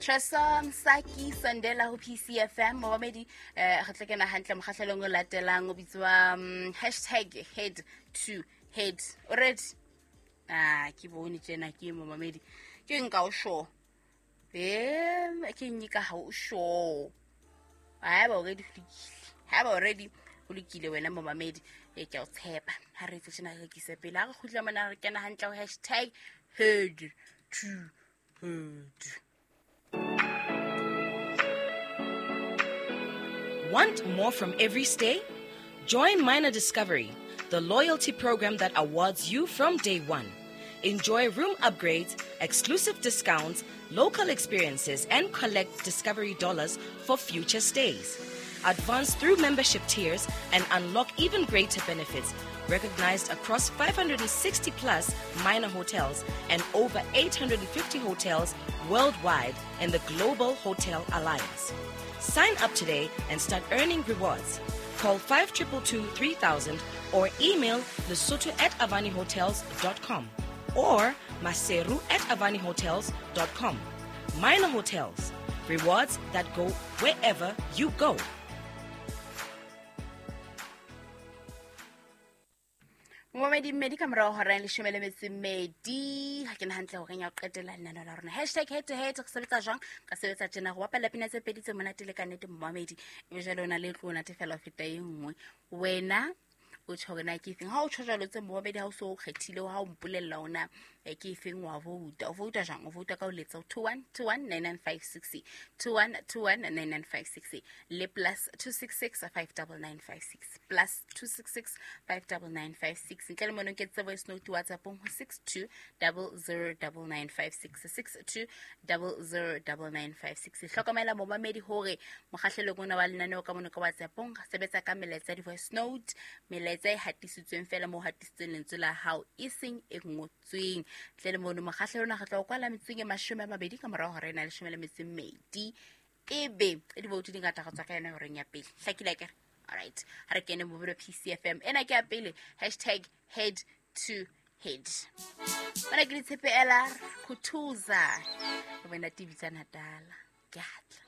Tresa Msaki Sandela ho PCFM momamedi, re tla kena hantle mokgahlelong o latelang o bitswa hashtag head to head. O ready? Ah, ke bone tjena ke momamedi. Ke nka o sure. Ke nyika ha o sure. Haeba o ready ho lokile. Haeba o ready ho lokile wena momamedi, e ke o tshepa. Ha re etse tjena re rekise pele. Ha re kgutla mona re kena hantle ho hashtag head to head. Want more from every stay? Join Minor Discovery, the loyalty program that awards you from day one. Enjoy room upgrades, exclusive discounts, local experiences, and collect Discovery dollars for future stays. Advance through membership tiers and unlock even greater benefits, recognized across 560 plus minor hotels and over 850 hotels worldwide in the Global Hotel Alliance. Sign up today and start earning rewards. Call 5222 3000 or email lesotho@avanihotels.com or maseru@avanihotels.com. Minor Hotels, rewards that go wherever you go. Momamedi mmedi ka morao hora ya leshome le metso e mmedi. Ha ke na hantle horeng ya ho qetela lenaneo la rona. Hashtag head to head, re sebetsa jwang? Ka sebetsa tjena, go bapala pina tse pedi tse monate le ka nnete momamedi. Ebe jwale o na le e tlo o natefela ho feta e nngwe. Wena o tjho hore na ke efeng. Ha o tjho jwalo tse momamedi, ha o so o kgethile, ha o mpolella hore na ke efeng, wa vouta. O vouta jwang? O vouta ka ho letsa ho 2121 9956, 2121 9956 le +266 59956, +266 59956. Ntle le mono ke tse voice note WhatsAppong ho 62009956, 62009956. Hlokomela momamedi hore mokgahlelong ona wa lenaneo ka mono ka WhatsAppong re sebetsa ka melaetsa ya di-voice note, melaetsa e hatisitsweng fela moo hatisitsweng lentswe la hao, e seng e ngotsweng. Ntle le mono mokgahlelo ona re tla o kwala metsotsong e 20 ka morao hora ena 12. Ebe diboutu di ngata go tswa ka yona horeng ya pele. Hlakile akere? Alright, ha re kene mobilo PCFM. Ena ke ya pele, hashtag head to head. Mona ke ditshepe ela Khuthuza. Le wena TV tsa Natala. Ke atla.